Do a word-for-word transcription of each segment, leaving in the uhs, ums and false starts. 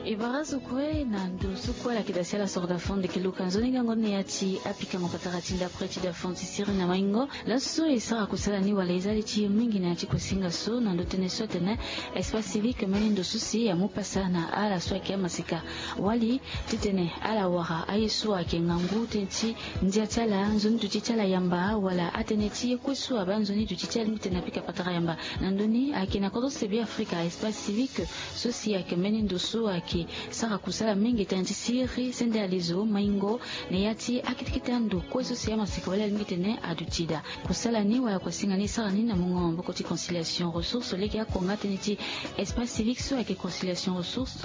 E bara so kue na ndo so kue ala yeke daa si ala soro dafon ndeke luka nzoni gango ni na ya ti apikango patara ti ndapre ti dafon ti siri na maingo. Laso so e sara kusala ni wala e za li ti e mingi na ya ti kuasinga so na ndo tënë so atene espace civique mbeni ndo so si amu pasa na ala so ayeke amaseka wali titene ala wara aye so ayeke ngangu tënë ti ndia ti ala nzoni duti ti ala yamba wala atënë ti ye kue so abaa nzoni duti ti ala mbi tene apika patara yamba. Na ndö ni ayeke na kodro se be afrika espace civique so si ayeke mbeni ndo so ayeke sara kusala mingi tënë ti siri sende alezo maingo na ya ti akete kete ando kue so si amaseka wali alingbi tene aduti daa. Kusala ni wala kuasinga ni e sara ni na mungo maboko ti conciliation ressource lege ako nga tënë ti espace civique so ayeke conciliation ressource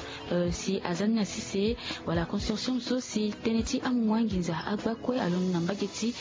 si aza ni na sese wala consortium so si tënë ti amungo anginza agba kue alondo na mbage ti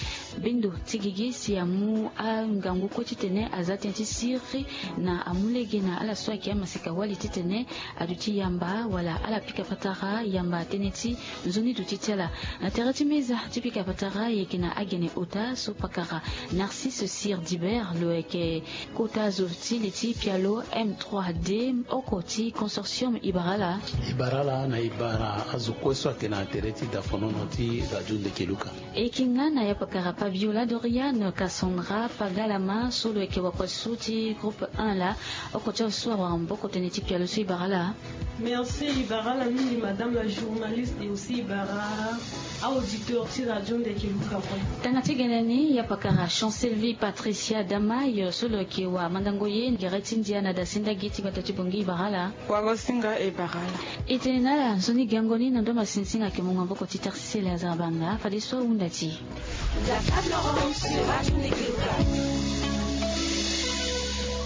bendo ti gigi si amu angangu kue titene aza tënë ti siri na amu lege na ala so ayeke amaseka wali titene aduti yamba wala ala pika patara yamba tënë ti nzoni duti ti ala. Na tere ti meza ti pika patara e yeke na agene ota so pakara narcisse sir dibert lo yeke kota azo ti li ti pialo m trois d oko ti consortium e bara ala. E bara ala na e bara azo kue so ayeke na tere ti dafonono ti radio ndeke luka. E yeke nga na ya pakara pabiola doriane cassandra pagalama so lo yeke wakua so ti groupe un laa. Oko ti azo so awara maboko tënë ti pialo so e bara ala. Merci e bara ala mingi madame la journaliste et aussi e bara auditeur ti radio ndeke luka kue. Tanga ti gene ni ya pakara chancelle vie patricia damayo so lo yeke wa mandango ye gere ti ndia na dasenda gi ti bata ti bongi e bara ala. Wagosinga e bara ala. E tene na ala nzoni gango ni na ndo masinsinga ayeke mungo maboko ti tarsisele azara banga fadeso ahunda ti e.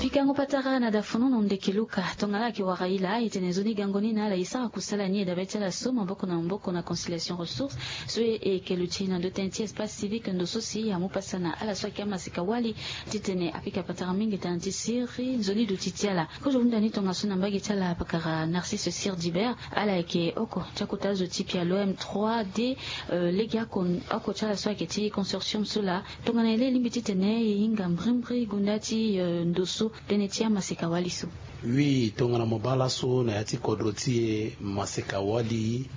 Pikango patara na dafonono ndeke luka tongana ala yeke wara e laa e tene nzoni gango ni na ala e sara kusala ni e dabe ti ala so maboko na maboko na conciliation ressource so e yeke luti na ndo tënë ti espace civique ndo so si amu pasa na ala so ayeke amaseka wali titene apika patara mingi tënë ti siri nzoni duti ti ala. Kozo hunda ni tongaso na mbage ti ala pakara narcisse sir dibert ala yeke oko ti akota zo ti pialo m trois d lege oko ti ala so ayeke ti consortium so laa. Tongana e laa e lingbi titene e hinga mbrimbri gonda ti ndo so tënë ti amaseka wali so. Oui tongana mo baa laso na ya ti kodro ti e maseka wali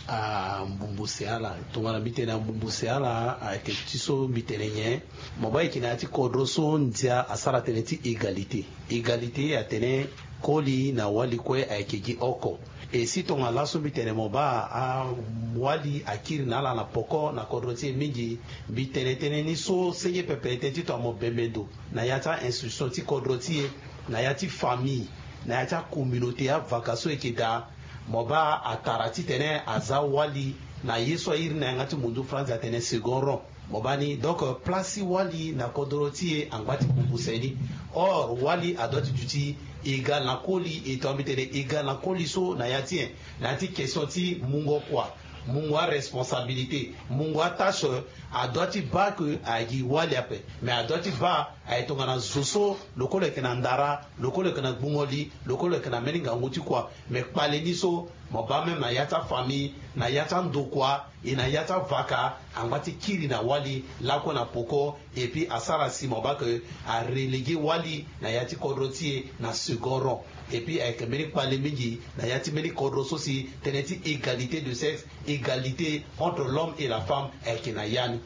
ambumbuse ala. Tongana mbi tene ambumbuse ala ayeke ti so mbi tene nyen? Mo baa e yeke na ya ti kodro so ndia asara tënë ti égalité. Égalité atene koli na wali kue ayeke gi oko. E si tongana laso mbi tene mo baa awali akiri na ala na poko na kodro ti e mingi. Mbi tene tënë ni so senge pepe tënë ti tongana mo bembe ndo na ya ti a-institution ti kodro ti e, na ya ti famille, na ya ti acommunauté avaka so e yeke daa. Mo baa atara titene aza wali na ye so airi na yanga ti mundu franzi atene second rond. Mo baa ni donc place ti wali na kodro ti e angba ti bubuse ni. Or wali adoit ti duti égal na koli e tongana mbi tene égal na koli so na ya ti en na ya ti question ti mungo kua, mungo aresponsabilité, mungo atâche. Adoit ti baa ke ayeke gi wali ape. Mais adoit ti baa aye tongana zo so lokolo yeke na ndara, lokolo yeke na gbungo li, lokolo yeke na mbeni ngangu ti kua. Mais kpale ni so mo baa même na ya ti afamille, na ya ti andokua, e na ya ti avaka angba ti kiri na wali lakue na poko. Et puis asara si mo baa ke areléguer wali na ya ti kodro ti e na second rond. Et puis ayeke mbeni kpale mingi na ya ti mbeni kodro so si tënë ti égalité de sexe, égalité entre l'homme et la femme ayeke na ya ni.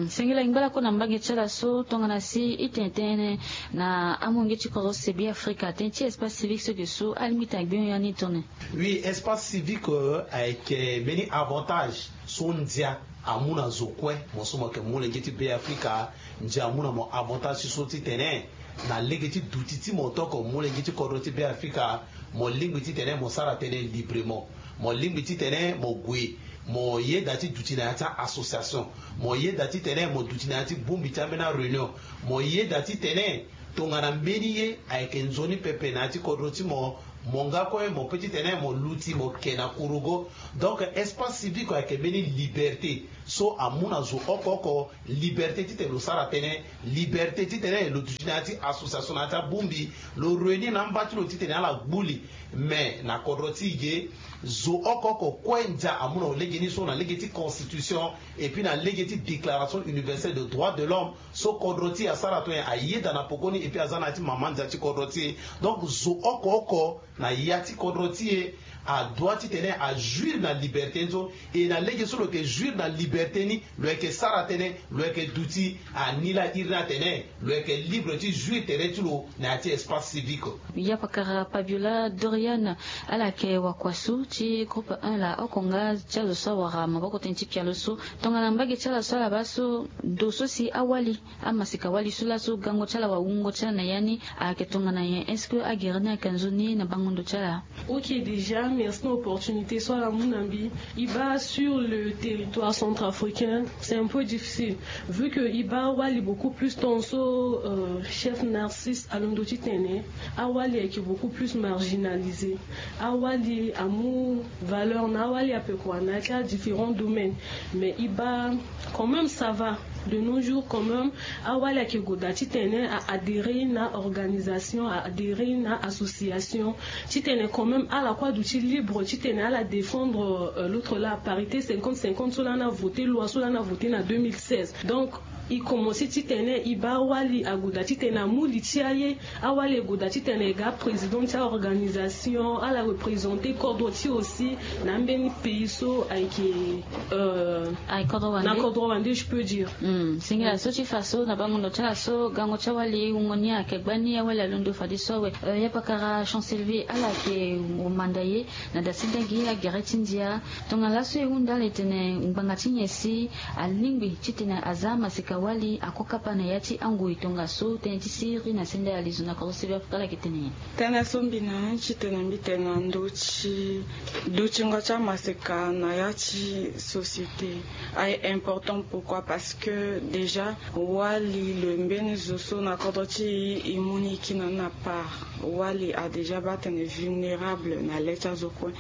Sengela e ngba lakue na mbage ti ala so tongana si e tene tënë na amolenge ti kodro se be afrika tënë ti espace civique so ge so alingbi tene agbi hon ya ni tone. Oui espace civique ayeke mbeni avantage so ndia amu na zo kue. Mo so mo yeke molenge ti be afrika ndia amu na mo avantage ti so titene na lege ti duti ti mo tok molenge ti kodro ti be afrika. Mo lingbi titene mo sara tënë librement. Mo lingbi titene mo gue mo yeda ti duti na ya ti a-association. Mo yeda titene mo duti na ya ti bongbi ti ambeni aréunion. Mo yeda titene tongana mbeni ye ayeke nzoni pepe na ya ti kodro ti mo, mo nga kue mo pe titene mo luti mo ke na kurugo. Donc espace civique ayeke mbeni liberté so amu na zo oko oko. Liberté titene lo sara tënë, liberté titene lo duti na ya ti association na ya ti abongbi, lo réunir na amba ti lo titene ala gbu li. Mais na kodro ti e ge zo oko oko kue ndia amu na lo lege ni so na lege ti constitution et puis na lege ti déclaration universelle de droit de l'homme so kodro ti e asara to nyen ayeda na pokoni et puis aza na ya ti mama ndia ti kodro ti e. Donc zo oko oko na ya ti kodro ti e adroit titene ajuir na liberté ni so. E na lege so lo yeke juir na liberté ni, lo yeke sara tënë, lo yeke duti anila iri ni atene lo yeke libre ti juir tere ti lo na ya ti espace civique. Yapakara Pabiola Dorian, ala yeke wakua so ti groupe un la oko nga ti azo so awara maboko tënë ti pialo so. Tongana mbage ti ala so ala baa so, ndo so si awali amaseka wali so laso gango ti ala wala wungo ti ala na ya ni ayeke tongana nyen? Est-ce que agere ni ayeke nzoni na bango ndo ti ala? Ok, déjà merci na opportunité so ala mu na mbi. E baa sur le territoire centrafricain, c'est un peu difficile vu que e baa wali beaucoup plus tant so, euh, chef Narcisse alondo titene awali ayeke beaucoup plus marginalisé. Awali amu valeur na awali ape kua na ya ti adifférents domaines. Mais e baa quand même ça va. De nos jours quand même, awali ayeke gue daa titene a adhérer na organisation, a adhérer na association, titene quand même ala kue aduti libre titene ala défendre, euh, l'autre la, parité cinquante cinquante so lani avoté, loi so lani avoté na deux mille seize. Donc e commencé titene e baa wali ague daa titene amu li ti aye. Awali ague daa titene e ga président ti aorganisation, ala représenter kodro ti e aussi na ambeni pays so ayeke, euh, na kodro wande, je peux dire. Hmm, singila so ti fa so na bango ndo ti ala so gango ti awali wungo ni ayeke gbani, awali alondo fadeso awe. Euh, yapakara Chancellevie, ala yeke manda ye na da senda gi agere ti ndia. Tongana laso e hunda ala e tene ngbanga ti nyen si alingbi titene aza amaseka wali ako kapa na ya ti angoi tongaso tënë ti siriri na senda ya lizo na kodro sebe afrika ala yeke tene nyen? Tënë so mbi na ni titene mbi tene na ndö ti dutingo ti amaseka na ya ti société aye important. Pourquoi? Parce que déjà wali lo mbeni zo so na kodro ti e e mu ni e kiri na ni na part. Wali a déjà baa tene vulnérable na le ti azo kue.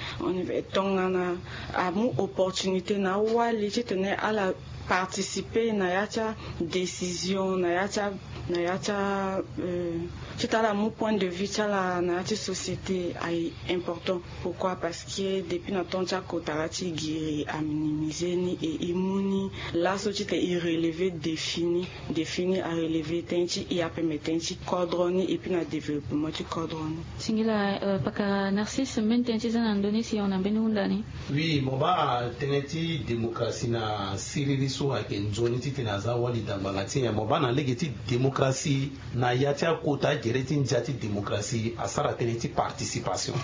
Tongana amu opportunité na awali titene ala participer na ya ti adécision, na ya ti a na ya ti a euh, titene ala mu point de vue ti ala na ya ti société aye important. Pourquoi? Parce que depuis na temps ti akota la ti giri aminimisé ni et e mu ni laso titene e relever défi ni. Défi ni arelever tënë ti e ape me tënë ti kodro ni et puis na développement ti kodro ni. Singila, euh, pakara Narcisse, mbeni tënë ti za na ndö ni si hon na mbeni hunda ni. Oui, mo baa tënë ti démocratie na siriri so ayeke nzoni titene aza wali da ngbanga ti nyen. Mo baa na lege ti démocratie na ya ti akota gere ti ndia ti démocratie asara tënë ti participation.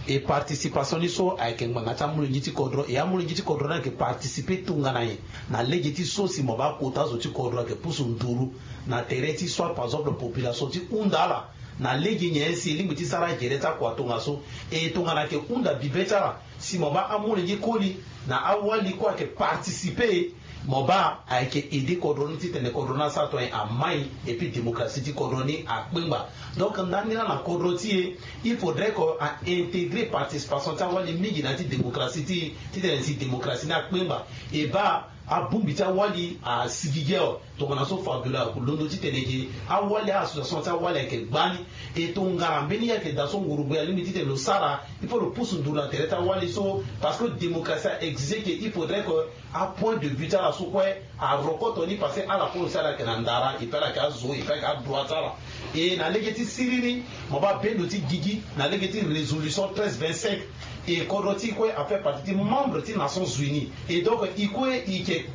E participation ni so ayeke ngbanga ti amolenge ti kodro, e amolenge ti kodro ni ayeke participer tongana nyen na lege ti so si mo baa kota zo ti kodro ayeke pusu nduru na tere ti so par exemple population ti hunda ala na lege nyen si e lingbi ti sara agere ti akua tongaso. E tongana ayeke hunda bibe ti ala si mo baa amolenge koli na awali kue ayeke participer, mo baa ayeke aider kodro ni titene kodro ni asara tonga nyen, amai. Et puis démocratie ti kodro ni akpengba. Donc ndani laa na kodro ti e, il faudrait que a intégrer participation ti awali mingi na ya ti démocratie ti e titene si démocratie ni akpengba. E baa abongbi ti awali asigigi awe. Tongana so Fabiola londo titene ge awali, a-association ti awali ayeke gbani. E tongana mbeni ye ayeke daa so ngurugbe alingbi titene lo sara, il faut lo pusu nduru na tere ti awali so. Parce que démocratie a exige que il faudrait que apoint de vue ti ala so kue arokoto ni, parce que ala kue lo si ala yeke na ndara, et puis ala yeke azo, et puis ala yeke adroit ti ala. E na lege ti siriri, mo baa bendo ti gigi na lege ti résolution treize vingt-cinq. E kodro ti e kue afaire partie ti membre ti Nations Unies. Et donc e kue e yeke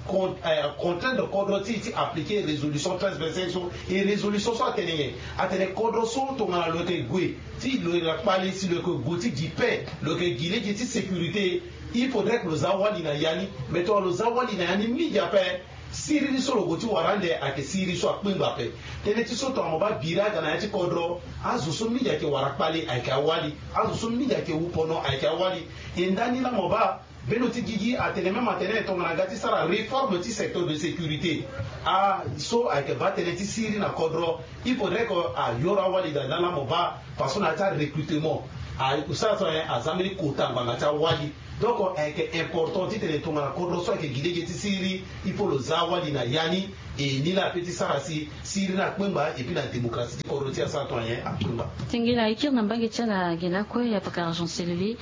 contraindre kodro ti e ti appliquer résolution treize vingt-cinq so. E résolution so atene nyen? Atene kodro so tongana lo yeke gue ti lo yeke na kpale si lo yeke gue ti gi paix, lo yeke gi lege ti sécurité, il faudrait que lo za wali na ya ni. Mais tongana lo za wali na ya ni mingi ape, siriri so lo gue ti wara ande ayeke siriri so akpengba ape. Tënë ti so tongana mo baa biri aga na ya ti kodro, azo so mingi ayeke wara kpale ayeke awali. Azo so mingi ayeke wu pono ayeke awali. E ndani laa mo baa bendo ti gigi atene même atene tongana aga ti sara réforme ti secteur de sécurité, a so ayeke baa tënë ti siriri na kodro, il faudrait que ayoro awali daa ndani laa mo baa parce que na ya ti arecrutement, a sara so nyen? Aza mbeni kota ngbanga ti awali. Donc ayeke important titene tongana kodro so ayeke gi lege ti siriri, il faut lo za awali na ya ni. E ni laa ape ti sara si siriri akpengba epui na démocratie ti kodro ti asara tongana nyen akpengba. Singila e kiri na mbage ti ala gi lakue ya pakara Jean Sylvie.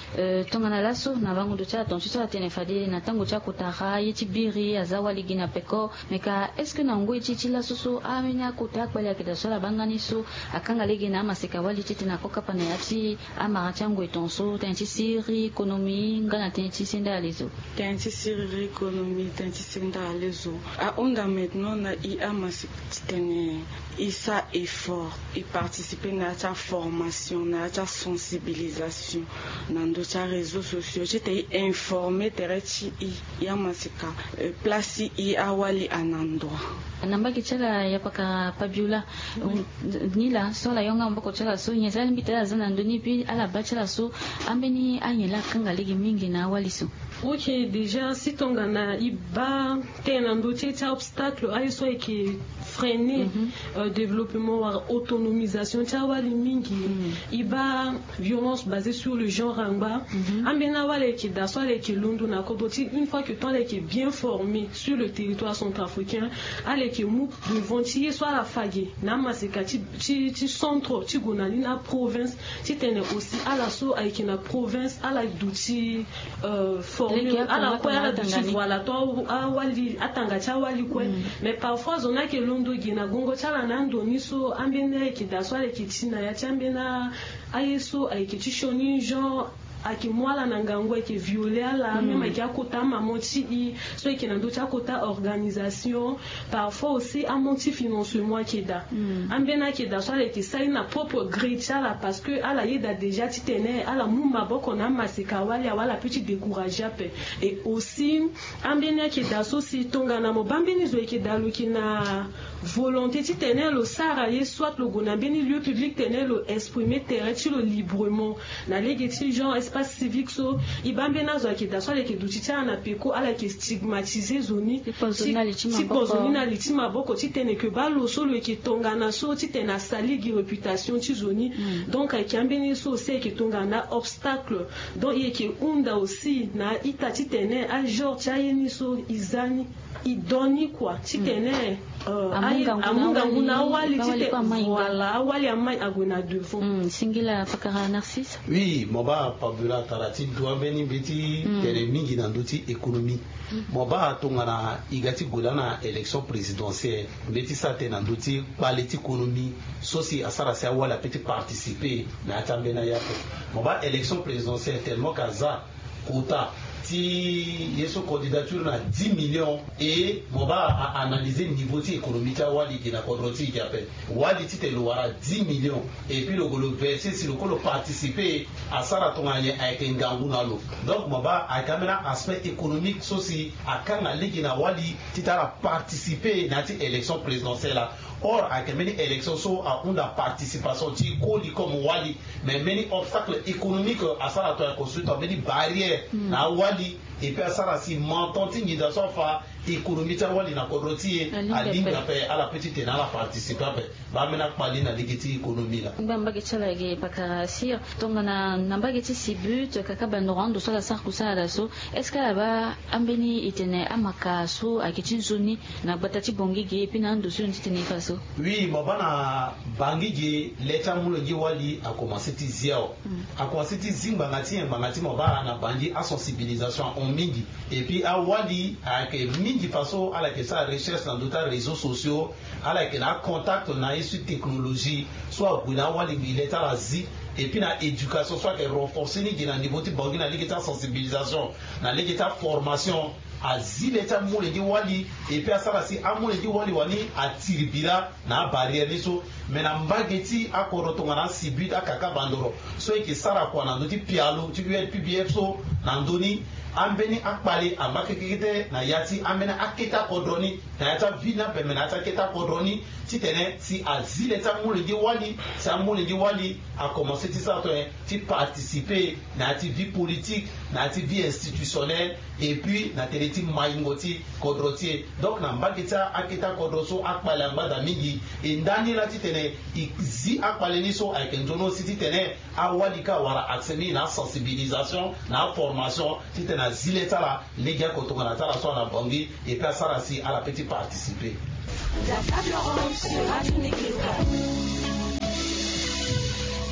Tongana laso na bango ndo ti ala tonga ti so atene fade na tango ti akotara ye ti biri aza wali gi na peko. Me ka est-ce que na ngoi ti ti laso so ambeni akota akpali ayeke daa so ala baa nga ni so akanga lege na amaseka wali titene ako kapa na ya ti amara ti angoi tonga so tënë ti siriri konomi nga na tënë ti senda alezo. Tënë ti siriri konomi tënë ti senda alezo ahunda maintenant na i amaseka titene i sa effort i participer na ya ti aformation na ya ti asensibilisation na ndo ti aréseau sociaux ti tene i informer tere ti i ya masika place ti i awali ana ndroit. Na mbage ti ala ya pakara pabiola. Ni laa so ala yonga maboko ti ala so nyen si alingbi tene ala za na ndö ni puis ala baa ti ala so ambeni anyen laa akanga lege mingi na awali so. Ok, déjà si tongana i baa tënë na ndö ti e ti aobstacle aye so ayeke freiner développement wala autonomisation ti awali mingi. I baa violence basée sur le genre angba. Ambeni awali ayeke daa so ala yeke londo na kodro ti une fois que temps ala yeke bien formé sur le territoire centrafricain, ala yeke mu devant ti ye so ala fa ge na amaseka ti centre ti gue na ni na aprovince. Titene aussi ala so ayeke na province ala duti formé ala kue ala duti voilà to awali atanga ti awali kue. Mais parfois zo ni ayeke londo ge na gongo ti ala na ando ni so ambeni ayeke daa so ala yeke ti na ya ti ambeni aye so ayeke ti sioni genre ayeke mu ala na ngangu ayeke viole ala même ayeke akota amama ti i so ayeke na ndö ti akota organisation. Parfois aussi amanque ti financement ayeke daa. Ambeni ayeke daa so ala yeke sara ni na propre gré ti ala parce que ala yeda déjà titene ala mu maboko na amaseka wali awe ala pe ti décourage ape. Et aussi ambeni ayeke daa so si tongana mo baa mbeni zo ayeke daa lo yeke na volonté titene lo sara ye soit lo gue na mbeni lieu public tene lo exprimer tere ti lo librement na lege ti genre espace civique so i baa mbeni azo ayeke daa so ala yeke duti ti ala na peko ala yeke stigmatiser zo ni ti kpo zo ni na li ti maboko titene ke baa lo so lo yeke tongana so titene asali gi réputation ti zo ni. Donc ayeke ambeni so aussi ayeke tongana obstacle. Donc i yeke hunda aussi na a-ita titene agenre ti aye ni so i za ni i do ni kua titene amu ngangu na awali titene voilà awali amai ague na devant. Singila pakara Narcisse. Oui, mo baa pabula tara ti du ambeni mbi ti tene mingi na ndö ti économie. Mo baa tongana i ga ti gue laa na élection présidentielle mbi ti sara tene na ndö ti kpale ti konomi so si asara si awali ape ti participer na ya ti ambeni aye ape. Mo baa élection présidentielle tellement ka za kota ti ye so candidature na dix millions. Et mo baa a-analyser niveau ti économie ti awali gi na kodro ti e gi ape. Wali titene lo wara dix millions et puis lo gue lo verser si lo kue lo participer asara tongana nyen ayeke ngangu na lo. Donc mo baa ayeke ambeni aspect économique so si akanga lege na wali titene ala participer na ya ti élection présidentielle la. Or ayeke mbeni élection so ahunda participation ti koli comme wali. Mais mbeni obstacle économique asara tongana construit tongana mbeni barrière na awali. Et puis asara si menton ti nginza so afa économie ti awali na kodro ti e alingbi ape ala pe titene ala participer ape. Baa mbeni akpali na lege ti économie laa. Ngba mbage ti ala ge pakara sir tongana na mbage ti sibut kaka bandoro ando so ala sara kusala laa so est-ce que ala baa ambeni e tene amaka so ayeke ti nzoni na gbata ti bongi ge epui na ando so e yonde ti tene e fa so? Oui, mo baa na bangi ge le ti amolenge wali akomanse ti zi awe. Akomanse ti zi ngbanga ti nyen? Ngbanga ti mo baa na bangi asensibilisation ahon mingi. Epui awali ayeke mingi faso ala yeke sara recherche na ndö ti aréseau sociaux. Ala yeke na acontact na ye so ti technologie so ague na awali gi le ti ala zi. Epui na éducation so ayeke renforcer ni gi na niveau ti bangi na lege ti asensibilisation na lege ti aformation. Azi le ti amolenge wali epui asara si amolenge wali wani atiri bi laa na abarrière ni so. Mais na mbage ti akodro tongana asibut akaka bandoro so e yeke sara kua na ndö ti pialo ti U L P B F so na ndö ni ambeni akpale angba kekekete na ya ti ambeni akete akodro ni na ya ti aville ni ape me na ya ti akete akodro ni titene si azi le ti amolenge wali si amolenge wali akomanse ti sara tongana nyen ti participer na ya ti vie politique na ya ti vie institutionnelle. Epui na tere ti maingo ti kodro ti e. Donc na mbage ti akete akodro so akpale angba daa mingi. E nda ni laa titene e zi akpale ni so ayeke nzoni aussi titene awali ka awara accès mingi na asensibilisation na aformation titene azi le ti ala lege oko tongana ti ala so ala na bangi. Epui asara si ala pe ti participer.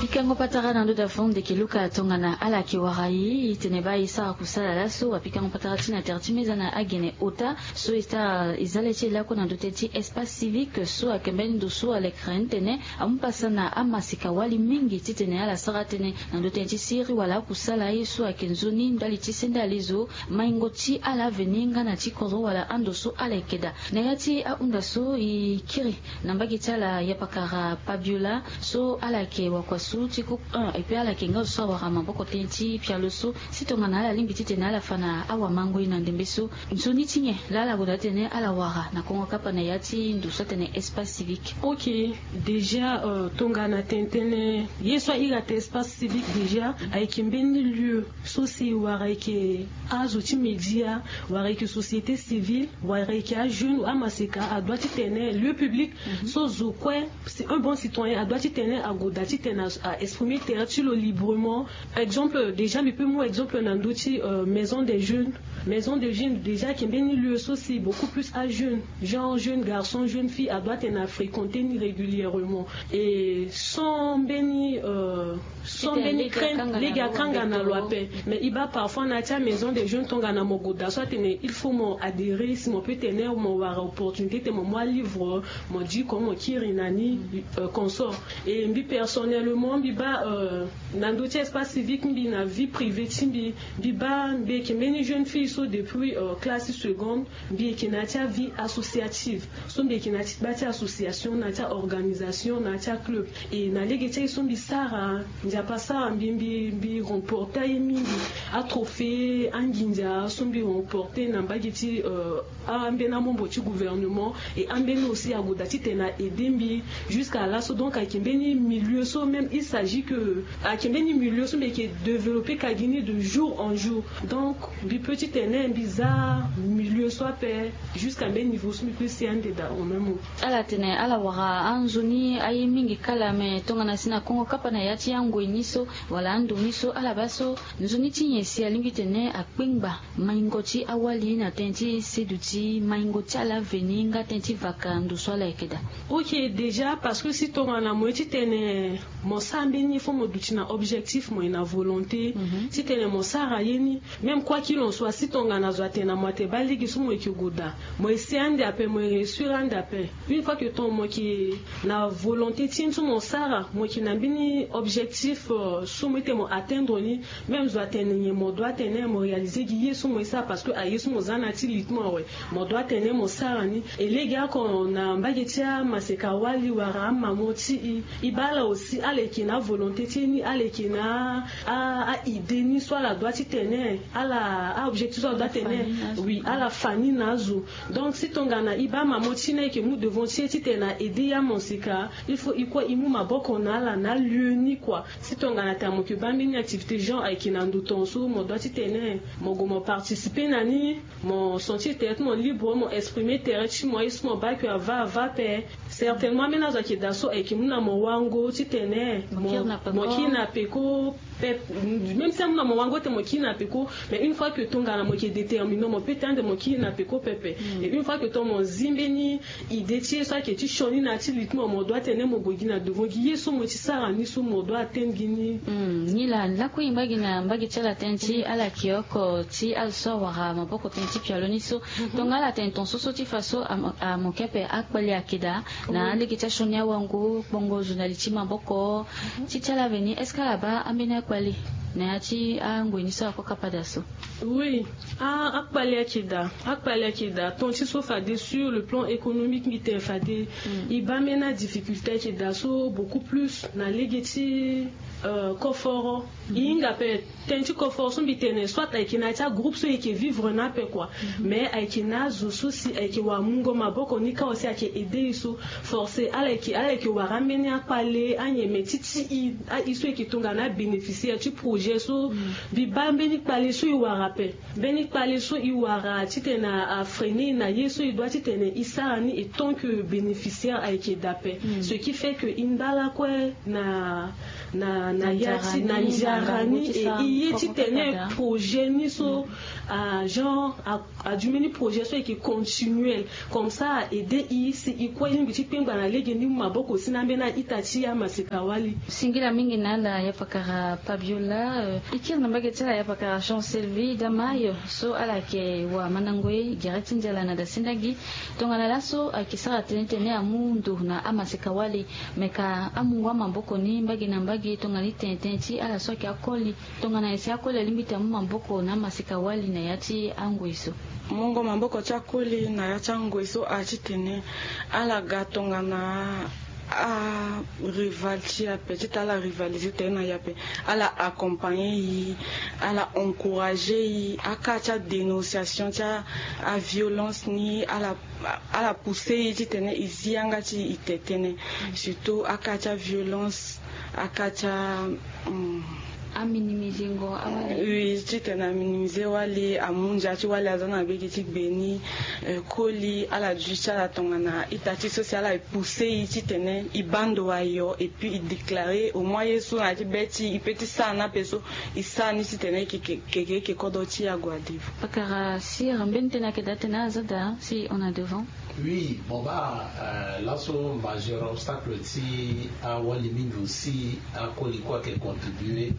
Pikango patara na ndo da fon de ke luka tongana ala ke wara ye itene ba ye sara kusala laso wa pikango patara ti na tere ti meza na agene ota so esta ezale ti elako na ndo tene ti espace civique so akembe ndo so alekere ni tene amu pasa na amasika wali mingi titene ala sara tënë na ndo tene ti siri wala akusala ye so ayeke nzoni ndali ti sende alezo maingo ti ala aveni nga na ti kodro wala ando so ala yeke daa. Na ya ti ahunda so e kiri na mbage ti ala yapakara pabiola so ala yeke wakua so ti groupe un epui ala yeke nga zo so awara maboko tënë ti pialo so si tongana ala lingbi titene ala fa na awamangoi na ndembe so nzoni ti nyen laa ala gue daa titene ala wara na kongo kapa na ya ti ndo so atene espace civique. Ok. Déjà tongana tene tënë ye so airi ate espace civique déjà ayeke mbeni lieu so si wara ayeke azo ti média wara ayeke société civile wara ayeke ajeune amaseka adoit titene lieu public so zo kue c'est un bon citoyen adoit titene ague daa titene a exprimer tere ti lo librement. Exemple déjà mbi pe mu exemple na ndö ti maison des jeunes. Maison des jeunes déjà ayeke mbeni lieu so si beaucoup plus ajeune genre jeune garçon jeune fille adoit tene afréquenter ni régulièrement et sans mbeni sans mbeni crainte lege akanga na lo ape. Mais e baa parfois na ya ti amaison des jeunes tongana mo gue daa so atene il faut mo adhérer si mo pe tene mo wara opportunité titene mo mu alivre mo diko mo kiri na ni consort. Et mbi personnellement mbi baa na ndö ti espace civique mbi na vie privée ti mbi mbi baa mbi yeke mbeni jeune fille so depuis classe seconde mbi yeke na ya ti avie associative so mbi yeke na ya ti gba ti association na ya ti aorganisation na ya ti aclub. Et na lege ti aye so mbi sara nzapa sara mbi mbi mbi remporte aye mingi atrophée anginza so mbi remporte na mbage ti ambeni amembre ti gouvernement. Et ambeni aussi ague daa titene a aider mbi jusqu'à laso donc ayeke mbeni milieu so même il s'agit que ayeke mbeni milieu so mbi yeke développer ka gi ni de jour en jour. Donc mbi pe titene mbi za milieu so ape jusqu'à mbeni niveau so mbi pe si ande daa en même temps. Ala tene ala wara anzoni aye mingi kala me tongana si na kongo kapa na ya ti angoi ni so wala ando ni so ala baa so nzoni ti nyen si alingbi tene akpengba maingo ti awali na tënë ti seduti maingo ti ala veni nga tënë ti vaka ndo so ala yeke daa. Ok déjà parce que si tongana mo ye titene mo sara mbeni ye fo mo duti na objectif mo ye na volonté titene mo sara ye ni. Même quoi qu'il en soit si tongana zo atene na mo ate baa lege so mo yeke gue daa mo ye si ande ape mo ye réussir ande ape. Une fois que ton mo yeke na volonté ti ye ni so mo sara mo yeke na mbeni objectif so mo ye titene mo atteindre ni. Même zo atene nyen mo doit tene mo réaliser gi ye so mo ye sara parce que aye so mo za na ya ti lite mo awe mo doit tene mo sara ni. E lege oko na mbage ti amaseka wali wara amamo ti e e baa ala aussi ala yeke na avolonté ti e ni ala yeke na a a idée ni so ala doit titene ala a objectif so ala doit tene oui ala fa ni na azo. Donc si tongana e baa mamo ti e ni ayeke mu devant ti e titene a aider e amaseka il faut e kue e mu maboko na ala na alieu ni kua. Si tongana tena mo yeke baa mbeni activité genre ayeke na ndo tongaso mo doit titene mo gue mo participer na ni mo sentir tere ti mo libre mo exprimer tere ti mo aye so mo baa ke ava ava ape. Certainement ambeni azo ayeke daa so ayeke mu na mo wango titene mo kiri na peko pepe. Même si amu na mo wango titene mo kiri na peko mais une fois que tongana mo yeke déterminer mo pe tene ande mo kiri na peko pepe. Et une fois que tongana mo zi mbeni idée ti ye so ayeke ti sioni na ya ti lite mo mo doit tene mo gue gi na devant gi ye so mo ye ti sara ni so mo doit atteindre gi ni. Ni laa lakue e ngba gi na mbage ti ala tënë ti ala yeke oko ti azo so awara maboko tënë ti pialo ni so. Tongana ala tene tongaso so ti fa so amo ke ape akpali ayeke daa na alege ti asioni awango kpongo zo na li ti maboko ti ti ala veni est-ce que ala baa ambeni akpali na ya ti angoi ni so akokapa daa so? Oui. Ah akpali ayeke daa akpali ayeke daa ton ti so fade sur le plan économique mbi tene fade e baa ambeni adifficulté ayeke daa so beaucoup plus na lege ti koforo. E hinga ape tënë ti koforo so mbi tene soit ayeke na ya ti agroupe so e yeke vivre na ape kua. Mais ayeke na azo so si ayeke wara mungo maboko ni kâ aussi ayeke aide e so forcé ala yeke ala yeke wara ambeni akpale anyeme ti ti e a e so e yeke tongana abénéficiaire ti projet. Projet so mbi baa mbeni kpale so e wara ape. Mbeni kpale so e wara titene afreine na ye so e dua titene e sara ni e tant que bénéficiaire ayeke daa ape. Ce qui fait que e ndala kue na na na ya ti na nzara ni e e ye titene projet ni so a genre a du mbeni projet so ayeke continuel. Comme ça a aide e si e kue e lingbi ti kpengba na lege ni mu maboko si na ambeni a-ita ti amaseka-wali. Singila mingi na ala ya pakara Pabiola. E kiri na mbage ti ala ya pakara Jean Selvi Damayo so ala yeke wamandango ye gere ti nzala na dasendagi. Tongana laso ayeke sara tënë titene amu ndo na amaseka-wali. Me ka amungo amaboko ni mbage na mbage tongana e tene tënë ti ala so ayeke akoli. Tongana ese akoli alingbi ti amu maboko na amaseka-wali na ya ti angoi so. Mungo maboko ti akoli na ya ti angoi so a titene ala ga tongana a rival ti e ape ti ta ala rivaliser tënë na e ape. Ala accompagner e, ala encourager e. Aka ti adénonciation ti aviolence ni ala ala pousser e titene e zi yanga ti e te tënë. Surtout aka ti aviolence, aka ti a aminimise ngo awali. Oui, titene aminimise wali, amu ndia ti wali aza na bege ti gbe ni. Koli ala duti ti ala tongana ita ti so si ala e pousser e titene e baa ndo ayo et puis e déclarer au moins ye so na ya ti be ti e, e pe ti sara ni ape so e sara ni titene e yeke kodro ti e ague na devant. Pakara sir mbeni tënë ayeke daa tënë aza daa si on a devant. Oui, mo baa laso majeur obstacle ti awali mingi aussi akoli kue ayeke contribuer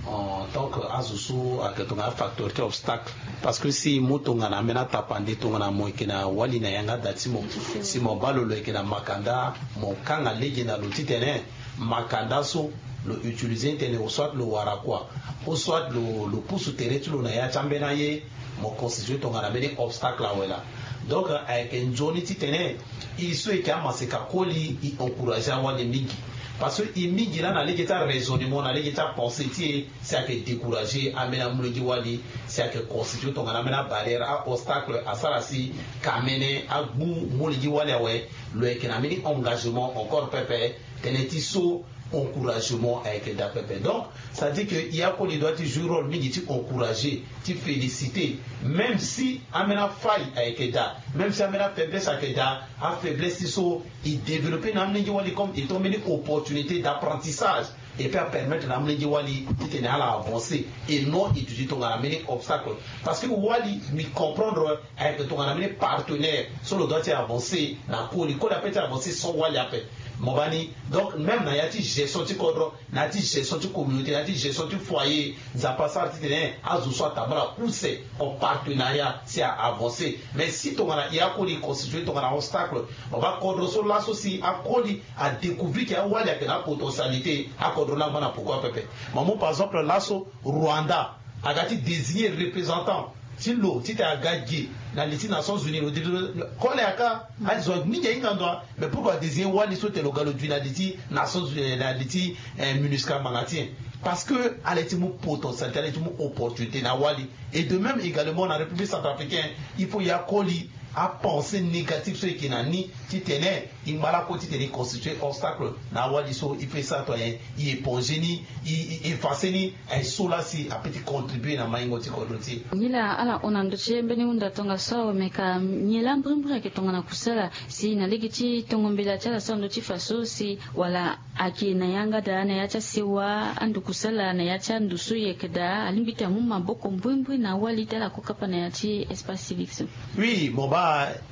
en tant que azo so ayeke tongana afacteur ti obstacle. Parce que si e mu tongana ambeni atapande tongana mo yeke na wali na yanga da ti mo, si mo baa lo lo yeke na makanda, mo kanga lege na lo titene makanda so lo utiliser ni tene au soit lo wara kua, au soit lo lo pusu tere ti lo na ya ti ambeni aye. Mo constituer tongana mbeni obstacle awe laa. Donc ayeke nzoni titene e so e yeke amaseka koli e encourager awali mingi. Parce que e mingi laa na lege ti araisonnement na lege ti apensée ti e si ayeke décourager ambeni amolenge wali, si ayeke constituer tongana ambeni abarrière a-obstacle asara si kamene agbu molenge wali awe. Lo yeke na mbeni engagement encore pepe. Tënë ti so encouragement ayeke daa pepe. Donc ça veut dire que e akoli doit ti jouer rôle mingi ti encourager, ti féliciter. Même si ambeni afaille ayeke daa, même si ambeni afaiblesse ayeke daa, afaiblesse ti so e développer na amolenge wali comme étant mbeni opportunité d'apprentissage. Et puis apermettre na amolenge wali titene ala avancer et non e duti tongana mbeni obstacle. Parce que wali mbi comprendre ayeke tongana mbeni partenaire so lo doit ti avancer na koli, koli ape ti avancer sans wali ape. Mo baa ni. Donc même na ya ti gestion ti kodro, na ya ti gestion ti communauté, na ya ti gestion ti foyer, Nzapa asara titene azo so atambula use en partenariat si a avancer. Mais si tongana e akoli e constituer tongana obstacle, mo baa kodro so laso si akoli adécouvrir ke awali ayeke na apotentialité, akodro ni angba na poko apepe. Mo mu par exemple laso Rwanda aga ti désigner représentant ti lo titene aga ge na li ti Nations Unies. Lo désigner kole aka azo mingi ahinga ndo. Mais pourquoi adésigner wali so tene lo ga lo dui na li ti Nations Unies, na li ti MINUSCA ngbanga ti nyen? Parce que ala ye ti mu potentialité, ala ye ti mu opportunité na wali. Et de même également na République centrafricaine, il faut e akoli apensée négative so e yeke na ni titene e ngba lakue titene e constituer obstacle na awali so. E fait ça to ayen e éponger ni, e effacer ni. Aye so laa si ape ti contribuer na maingo ti kodro ti e. Nilaa ala hon na ndö ti e mbeni hunda tongaso awe, me ka nyen laa mbrimbri ayeke tongana kusala si na lege ti tongo mbela ti ala so na ndö ti fa so si wala ayeke na yanga daa na ya ti asewa, ando kusala na ya ti ando so e yeke daa, alingbi ti amu maboko mbrimbri na awali ti ala kue kapa na ya ti espace civique so. Oui, mo baa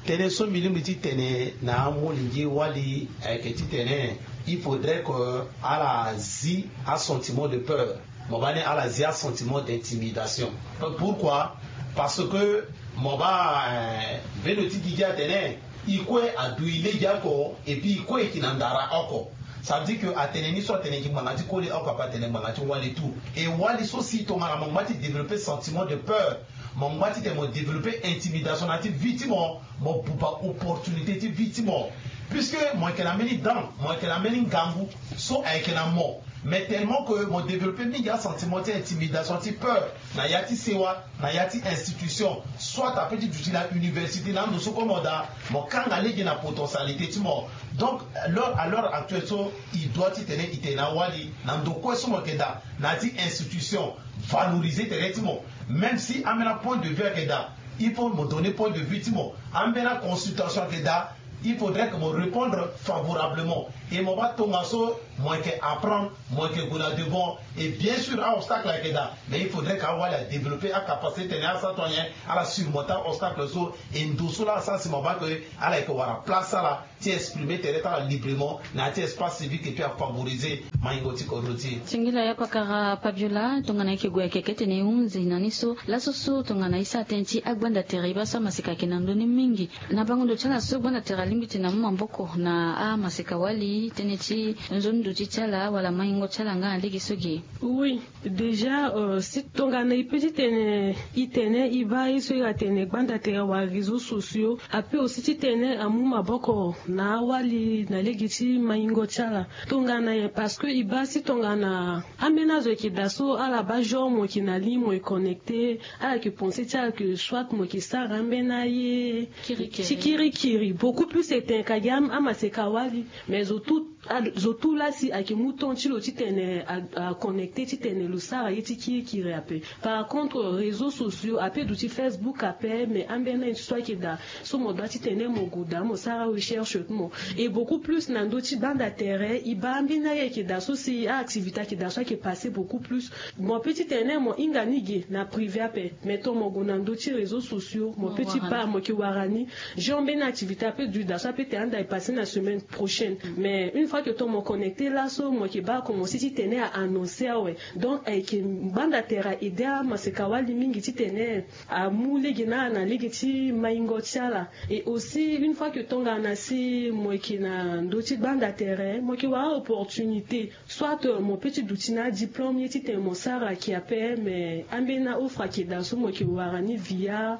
tënë so mbi lingbi ti tene na amolenge wali ayeke titene il faudrait que ala zi asentiment de peur. Mo baa ni ala zi asentiment d'intimidation. Pourquoi? Parce que mo baa mbeni lo ti gigi atene e kue adui lege oko et puis e kue e yeke na ndara oko. Ça veut dire que atene ni so atene e yeke ngbanga ti koli oko ape, atene ngbanga ti wali tout. Et wali so si tongana mo ngba ti développer sentiment de peur, mo ngba titene mo développer intimidation na ya ti vie ti mo, mo buba opportunité ti vie ti mo. Puisque mo yeke na mbeni dent, mo yeke na mbeni ngangu so ayeke na mo. Mais tellement que mo développer mingi asentiment ti intimidation, ti peur na ya ti sewa, na ya ti institution Soit ape ti duti na université na ndo so kue mo daa, mo kanga lege na potentialité ti mo. Donc, à l'heure actuelle so, il doit titene i tene awali na ndo kue so mo yeke daa na ya ti institution, valoriser tere ti mo. Même si ambeni apoint de vue ayeke daa, il faut mo donner point de vue ti mo. Ambeni aconsultation ayeke daa, il faudrait que mo répondre favorablement. Et mo baa tongaso mo yeke apprendre, mo yeke gue na devant. Et bien sûr, aobstacle ayeke daa, mais il faudrait que awali adévelopper acapacité tene asa to anyen, ala surmonter aobstacle so. Et ndo so laa asa si mo baa ke ala yeke wara place ala ti exprimer tere ti ala librement na ya ti espace civique et puis afavoriser maingo ti kodro ti e. Singila ya pakara Pabiola, tongana e yeke gue ayeke kete na e hunzi na ni so laso so tongana e sara tënë ti agbanda tere e baa so amaseka ayeke na ndö ni mingi. Na bango ndo ti ala so gbanda tere alingbi ti tene amu maboko na amaseka wali tënë ti nzoni ndo ti ti ala wala maingo ti ala nga na lege so ge? Oui, déjà, euh, si tongana e pe ti tene e tene e baa ye so e ga tene gbanda tere wala réseaux sociaux ape aussi ti tene amu maboko na awali na lege ti maingo ti ala. Tongana ye parce que e baa si tongana ambeni azo yeke daa so ala baa genre mo yeke na ligne mo yeke connecté, ala yeke pensé ti ala ke soit mo yeke sara ambeni aye ti kirikiri. Beaucoup plus e tene ka gi amaseka wali. Mais zo tout, zo tout laa si ayeke mu temps ti lo titene a, a connecté titene lo sara ye ti kirikiri ape. Par contre réseaux sociaux ape, duti Facebook ape, mais ambeni aye ti so ayeke daa so mo doit titene mo gue daa mo sara recherche ti mo. Et beaucoup plus na ndö ti gbanda tere e baa ambeni aye ayeke daa so si aactivité ayeke daa so ayeke passé beaucoup plus. Mo pe ti tene mo hinga ni ge na privé ape, mais tongana mo gue na ndö ti réseaux sociaux mo pe ti baa mo yeke wara ni. Genre mbeni activité ape du daa so ape tene anda e passé na semaine prochaine. Mais une fois que tongana mo connecté laso mo yeke baa akomense ti tene a annoncé awe. Donc ayeke gbanda tere a aidé amaseka wali mingi ti tene amu lege na ala na lege ti maingo ti ala. Et aussi une fois que tongana si mo yeke na ndö ti gbanda tere mo yeke wara opportunité. Soit mo pe ti duti na adiplôme ye titene mo sara ayeke ape, mais ambeni aoffre ayeke daa so mo yeke wara ni via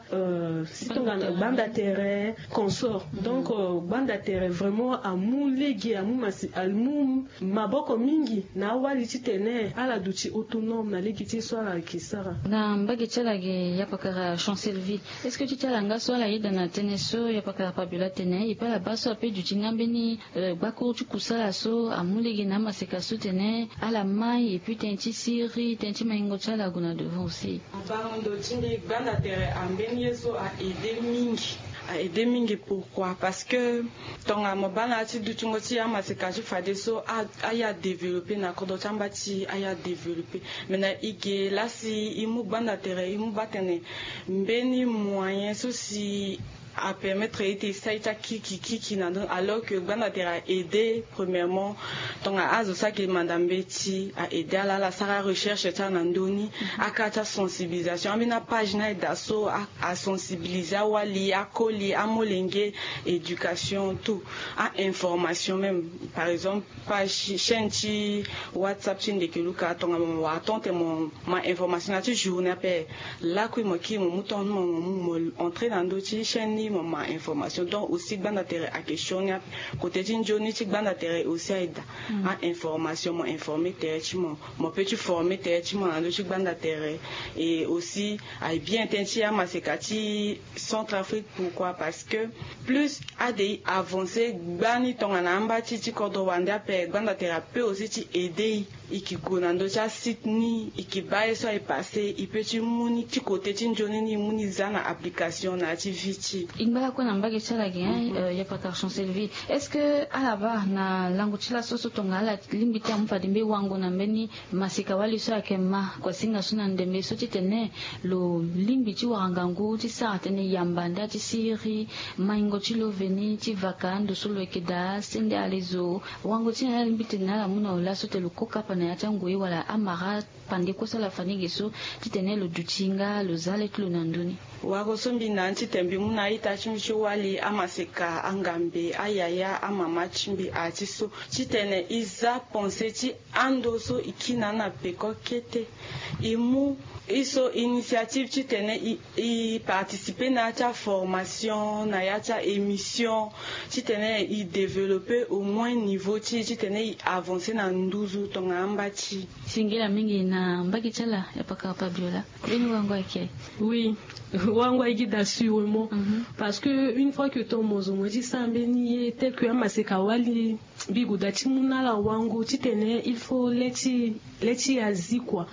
si tongana gbanda tere consort. Donc gbanda tere vraiment amu lege amu masi amu maboko mingi na awali titene ala duti autonome na lege ti ye so ala yeke sara. Na mbage ti ala ge ya pakara Chancellevie, est-ce que ti ti ala nga so ala yeda na tënë so ya pakara Pabiola atene e pe ala baa so ape duti nga mbeni gbakuru ti kusala so amu lege na amaseka so tene ala mai et puis tënë ti siriri tënë ti maingo ti ala ague na devant aussi? Bango ndo ti mbi gbanda tere ambeni ye so a aidé mingi. A aidé mingi pourquoi? Parce que tongana mo baa na ya ti dutingo ti amaseka ti fadeso a, aye adéveloppé na kodro ti amba ti aye adéveloppé. Mais na e ge laa si e mu gbanda tere e mu baa tene mbeni moyen so si apermettre ye ti e sara ye ti akiki kiki na ndö ni alors que gbanda tere a aidé premièrement. Tongana azo so ayeke manda mbeti a aidé ala ala sara arecherche ti ala na ndö ni. Akara ti asensibilisation ambeni apage ni aye daa so asensibilisé awali akoli amolenge éducation tout. Ainformation même par exemple page chaîne ti whatsapp ti ndeke luka tongana mo wara temps tene mo ma information na ya ti journée ape. Lakui mo kiri mo mu temps ti mo mo entré na ndö ti chaîne ni mo ma information donc aussi gbanda tere ayeke sioni ape. Kote ti nzoni ti gbanda tere aussi aye daa. Ainformation mo informé tere ti mo mo pe ti formé tere ti mo na ndö ti gbanda tere. Et aussi aye bien tënë ti amaseka ti centrafrique pourquoi parce que plus ade e avancé gbani tongana amba ti ti kodro wande ape gbanda tere ape aussi ti aidé e. E ke gue na ndö ti asite ni e ke baa ye so aye passé e pe ti mu ni ti kote ti nzoni ni e mu ni za na application na ya ti vie ti e. E ngba lakue na mbage ti ala ge hein. Ya pakara Chancellevie, est-ce que ala baa na lango ti laso so tongana ala lingbi ti amu fade mbeni wango na mbeni maseka wali so ayeke ma kuasinga so na ndembe so titene lo lingbi ti wara ngangu ti sara tënë yamba nda ti siriri maingo ti lo veni ti vaka ando so lo yeke daa sende alezo. Wango ti na ala lingbi tene na ala mu na lo laso tene lo ko kapa na ya ti angoi wala amara pande kue so ala fa ni ge so titene lo duti nga lo za le ti lo na ndö ni. Wako so mbi na ni titene mbi mu na a-ita ti mbi ti wali amaseka angambe ayaya amama ti mbi aya ti so titene e za pense ti ando so e kiri na ni na peko kete. E mu e so initiative titene e participer na ya ti aformation na ya ti aémission titene e développer au moins niveau ti e titene e avancer na nduzu tongana Mbati. Singila mingi na mbage ti ala ya pakara Fabiola. Mbeni wango ayeke? Oui. Wango ayeke daa sûrement. Parce que une fois que ton mozo mo ti sara mbeni ye tel que amaseka wali, mbi gue daa ti mu na ala wango titene il faut le ti le ti azi kua.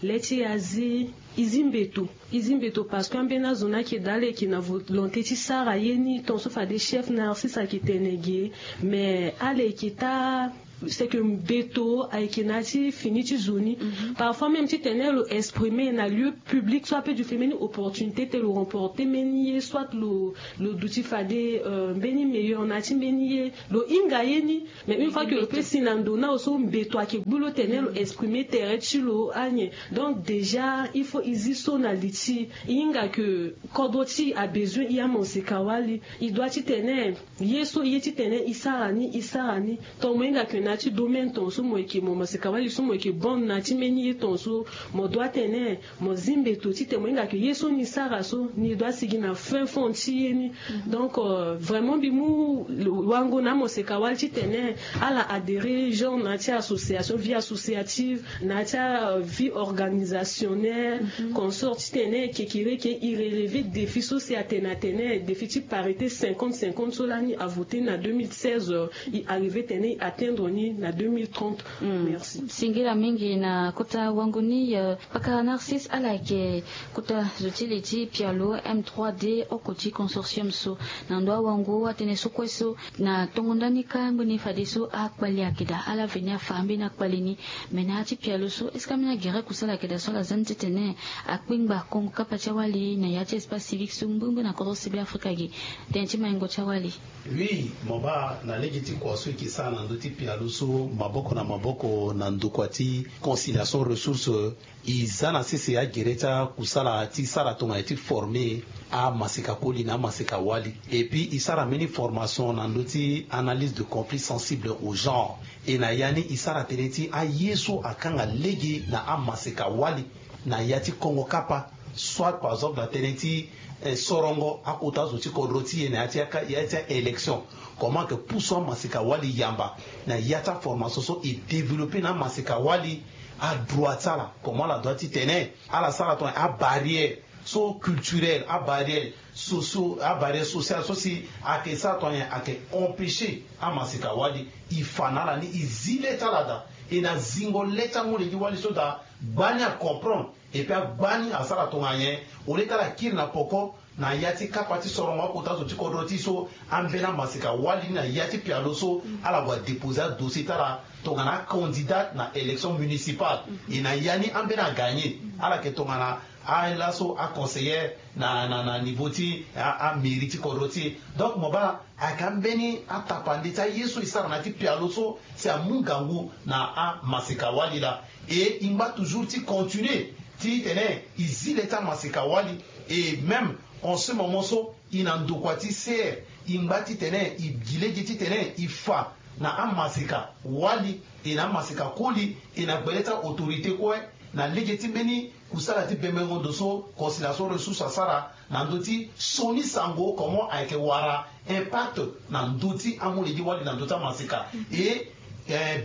Le ti azi, e zi mbeto. E zi mbeto parce que ambeni azo ni ayeke daa ala yeke na volonté ti sara ye ni tonso fade chef narcisse ayeke tene ge. Mais ala yeke taa c'est que mbeto ayeke na ya ti fini ti zo ni. Parfois même titene lo exprimer na lieu public soit ape du fait mbeni opportunité ti lo remporter mbeni ye soit lo lo duti fade mbeni meilleur na ya ti mbeni ye. Lo hinga ye ni. Mais une fois que lo pe si na ndo na lo so mbeto ayeke gbu lo tene lo exprimer tere ti lo anyen. Donc déjà il faut e zi so na li ti e hinga ke kodro ti e abezoin e amaseka wali. E doit titene ye so e ye titene e sara ni e sara ni. Ton mo hinga ke na ya ti domaine ton so mo yeke mo maseka wali so mo yeke bon na ya ti mbeni ye ton so mo doit tene mo zi mbeto titene mo hinga ke ye so ni sara so ni doit sigi na fin fond ti ye ni. Donc vraiment mbi mu wango na amoseka wali titene ala adhérer genre na ya ti association vie associative, na ya ti avie organisationnelle, consort titene kekereke e relever défi so si atene atene défi ti parité cinquante cinquante so lani avoter na deux mille seize, e arriver tene e atteindre ni na deux mille trente. Merci. Singila mingi na kota wango ni. Pakara Narcisse, ala yeke kota zo ti li ti pialo M trois D oko ti consortium so. Na ndo awango atënë so kue so na tongo ndani kâ mbeni fadeso akpali ayeke daa ala veni afa mbeni akpali ni. Me na ya ti pialo so est-ce que ambeni agere kusala ayeke daa so ala za ni titene akpengba kongo kapa ti awali na ya ti espace civique so mbrimbri na kodro sebe afrika ge? Tënë ti maingo ti awali. Oui, mo baa na lege ti kua so e ke sara na ndö ti pialo so maboko na maboko na ndokua ti conciliation ressource. E za na sese agere ti akusala ti sara tongana ti former amaseka koli na amaseka wali. Et puis e sara mbeni formation na ndö ti analyse de conflit sensible au genre. E na ya ni e sara tënë ti aye so akanga lege na amaseka wali na ya ti kongo kapa, soit par exemple na tënë ti sorongo akota zo ti kodro ti e na ya ti aka ya ti aélection. Comment ke pusu amaseka wali yamba na ya ti aformation so e développer na amaseka wali adroit ti ala, comment ala doit ti tene ala sara tongana abarrière so culturelle, abarrière socio abarrière sociale so si ayeke sara tongana nyen ayeke empêcher amaseka wali e fa na ala ni e zi le ti ala daa. E na zingo le ti amu lege wali so daa gbani acomprendre. Et puis agbani asara tongana nyen au lieu ti ala kiri na poko na ya ti kapa ti sorongo akota zo ti kodro ti e so ambeni amaseka wali ni na ya ti pialo so ala gue adeposer adossier ti ala tongana acandidate na élection municipale. E na ya ni ambeni agagner ala yeke tongana alaso aconseillère na na na niveau ti amairie ti kodro ti e. Donc mo baa ayeke ambeni atapande ti aye so e sara na ya ti pialo so si amu ngangu na amaseka wali laa. E e ngba toujours ti continuer titene e zi le ti amaseka wali. E même en ce moment so e na ndokua ti ser e ngba titene e gi lege titene e fa na amaseka wali e na amaseka koli e na gbele ti autorité kue na lege ti mbeni kusala ti bembengo ndo so conciliation ressource asara na ndö ti sioni sango comment ayeke wara impact na ndö ti amu lege wali na ndö ti amaseka. E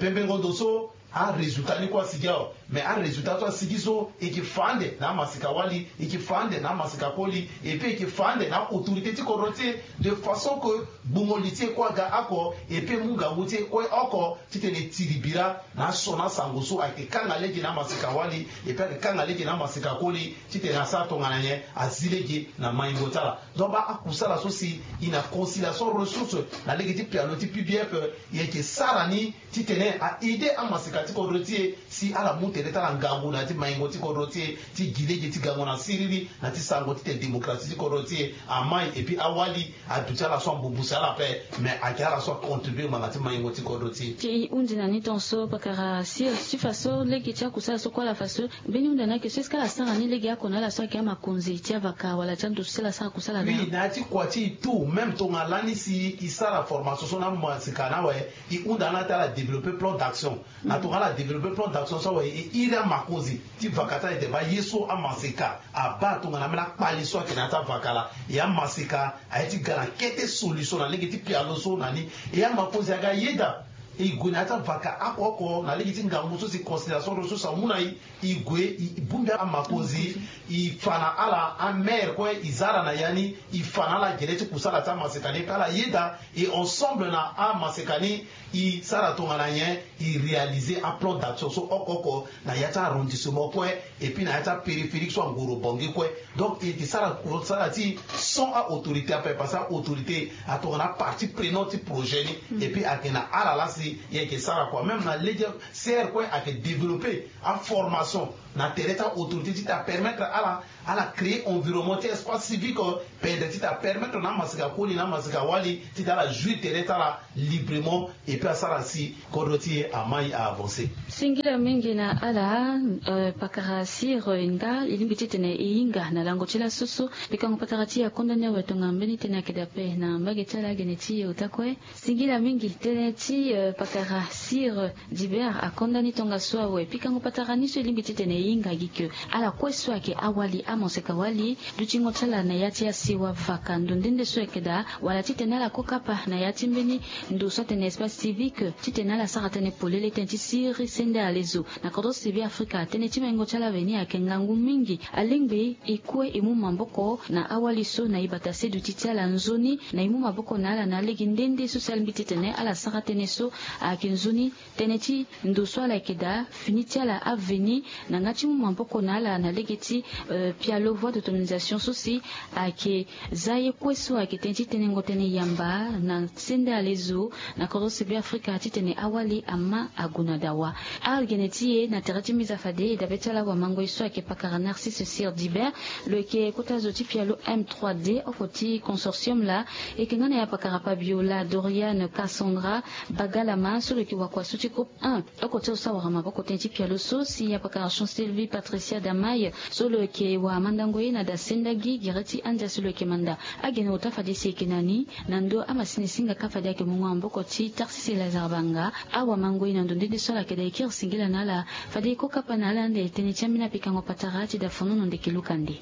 bembengo ndo so arésultat ni kue asigi awe. Mais arésultat so asigi so e ke fa ande na amaseka wali, e ke fa ande na amaseka koli, et puis e ke fa ande na autorité ti kodro ti e de façon que gbungo li ti e kue aga oko, et puis e mu ngangu ti e kue oko titene e tiri bira na asioni asango so ayeke kanga lege na amaseka wali, et puis ayeke kanga lege na amaseka koli titene asara tongana nyen azi lege na maingo ti ala. Donc baa akusala so si e na conciliation ressource na lege ti pialo ti P B F e yeke sara ni titene a aider amaseka ti kodro ti e si ala mu tere ti ala ngangu na ya ti maingo ti kodro ti e ti gi lege ti gango na siriri na ti sango titene démocratie ti kodro ti e amai. Et puis awali aduti ala so ambubusi ala ape, mais ayeke ala so acontribuer ngbanga ti maingo ti kodro ti e. Ti e hundi na ni tonso pakara sir ti faso lege ti akusala so kue ala faso. Mbeni hunda ni ayeke so est-ce que ala sara ni lege oko na ala so ayeke amakonzi ti avaka wala ti ando so si ala sara kusala na oui na ya ti kua ti e tout même tongana lani si e sara formation so na amaseka ni awe. E hunda na ala ti ala développer plan d'action. Na tongana ala développer plan d'action so awe e iri amakonzi ti vaka ti ala ete baa ye so amaseka abaa tongana ambeni akpali so ayeke na ya ti avaka laa. E amaseka aye ti ga na kete solution na lege ti pialo so na ni. E amakonzi aga ayeda E gue na ya ti avaka oko oko na lege ti ngangu so si considération ressource amu na e. E gue e bongbi amakonzi. E fa na ala amere kue e za ala na ya ni. E fa na ala gere ti kusala ti amaseka ni pe ala yeda. E ensemble na amaseka ni e sara tongana nyen? E réaliser aplan d'action so oko oko na ya ti arrondissement kue, et puis na ya ti apériphérique so angoro bangi kue. Donc e yeke sara sara ti sans aautorité ape parce que aautorité atongana apartie prenante ti projet ni. Et puis ayeke na ala laa si e yeke sara kua même na lege. Sere kue ayeke développer aformation na tere ti aautorité ti ta permettre ala ala créer environnement ti espace civique pendre ti ta permettre na amaseka koli na amaseka wali ti ta ala jouir tere ti ala librement. Et puis asara si kodro ti e amai a avancer. Singila mingi na ala. Pakara sir e nga e lingbi titene e hinga na lango ti laso so. Pikango patara ti e akonda ni awe tongana mbeni tënë ayeke daa ape na mbage ti ala agene ti e ota kue. Singila mingi tënë ti pakara sir. Dibert akonda ni tongaso awe pikango patara ni so e lingbi titene e hinga gi ke ala kue so ayeke awali amaseka wali dutingo ti ala na ya ti asiwa vaka ndo nde nde so ayeke daa wala titene ala kokapa na ya ti mbeni ndo so atene espace civique titene ala sara tënë polele tënë ti siri sende alezo. Na kodro ti sibi afrika tënë ti maingo ti ala veni ayeke ngangu mingi. Alingbi e kue e mu maboko na awali so na e bata seduti ti ala nzoni na e mu maboko na ala na alege nde nde so si alingbi titene ala sara tënë so ayeke nzoni tënë ti ndo so ala yeke daa fini ti ala aveni na nga ti mu maboko na ala na lege ti pialo voie d'autonomisation so si ayeke za ye kue so ayeke tënë ti tenengo tënë yamba na sende alezo na kodro sibi afrika titene awali ama ague na dawa. Agene ti e na tere ti mbi za fade e dabe ti ala wamangoi so ayeke pakara narcisse sir dibert lo yeke kota zo ti pialo m trois d oko ti consortium laa. E yeke nga na ya pakara pabiola doriane cassandra bagalama so lo yeke wakua so ti groupe un oko ti lo so awara maboko tënë ti pialo so si ya pakara chancelvi patricia damai so lo yeke wara mandango ye na dasendagi gere ti andia so lo yeke manda. Agene ota fade si e yeke na ni na ndo amasini singa kâ fade ayeke mungo maboko ti tarsisi lazare banga. Awamangoi na ndo nde nde so ala yeke daa e kiri singila na ala fade e ko kapa na ala ande tënë ti ambeni apikango patara ti dafonono ndeke luka nde.